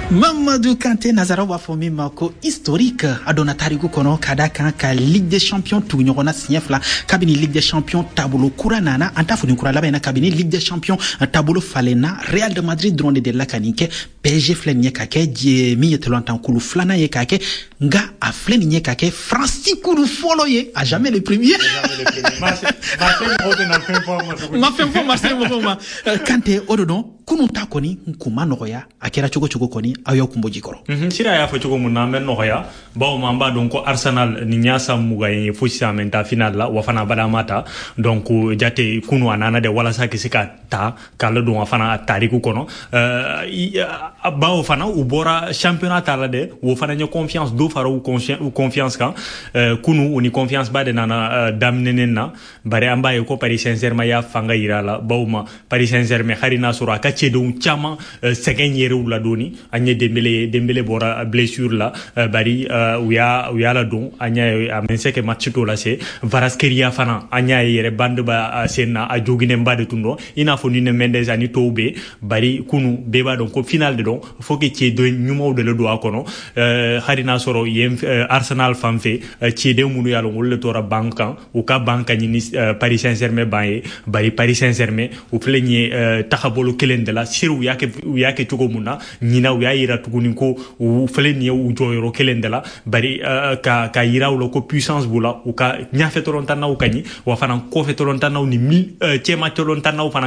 Mamadou Kanté, nazaraw b'a fɔ min ma ko historique, a donna tariku kɔnɔ ka da kan ka Ligue des champions tugu ɲɔgɔn na siɲɛ fila kabini Ligue des champions taabolo kura nana. An t'a fɔ nin kura laban in na, kabini Ligue des champions taabolo falenna, Real de Madrid dɔrɔn de delila ka nin kɛ. PSG filɛ nin ye ka kɛ min ye tɔlantankulu filanan ye k'a kɛ, nka a filɛ nin ye ka kɛ Faransi kulu fɔlɔ ye, à jamais le premier. Ma fɛn fɔ Marseille mɔgɔw ma. Kante, o de dɔn kunun ta kɔni kun ma nɔgɔya, a kɛra cogo cogo kɔni, aw y'aw kun bɔ ji kɔrɔ. Sira y'a fɔ cogo mun na, an bɛ nɔgɔya, bawo an b'a dɔn ko Arsenal nin y'a san 20 ye fo sisan mɛ ta final la, wa fana bada ma ta. Donc jate kunu a nana de walasa ka se ka ta k'a la don a fana tariku kɔnɔ, bawo fana u bɔra championnat ta la dɛ. O fana ye confiance dɔ fara u confiance kan. Kunu u ni confiance ba de nana daminɛnen na, bari an b'a ye ko Paris Saint-Germain y'a fanga yira la, bawo ma Paris Saint-Germain, hali n'a sɔrɔ a ka cɛdenw caman sɛgɛn yɛrɛw la dɔɔni. An ye Dembele ye, Dembele bɔra blessure la, bari u y'a ladon, an y'a ye a mɛ se kɛ match tɔ lase. Kvaratskhelia fana, an y'a ye yɛrɛ bande ba sen na, a joginenba de tun don, i n'a fɔ Nuno Mendes ani tɔw bɛ. Bari kunu bɛɛ b'a dɔn ko final de don, faut que cɛden ɲumanw de le don a kɔnɔ. Hali n'a sɔrɔ yen Arsenal fan fɛ, cɛden minnu y'a lɔn, olu de tora banc kan, u ka banc ka ɲini Paris Saint-Germain ban ye. Bari Paris Saint-Germain, u filɛ nin ye tagabolo kelen de la. Seri u y'a kɛ cogo mun na ɲina, u y'a yira tuguni ko u filɛ nin ye u jɔyɔrɔ kelen de la, bari ka yira u la ko puissance b'u la. U ka ɲɛfɛ tɔlɔntannaw ka ɲi, wa fana kɔfɛ tɔlɔntannaw ni cɛma tɔlɔntannaw fana.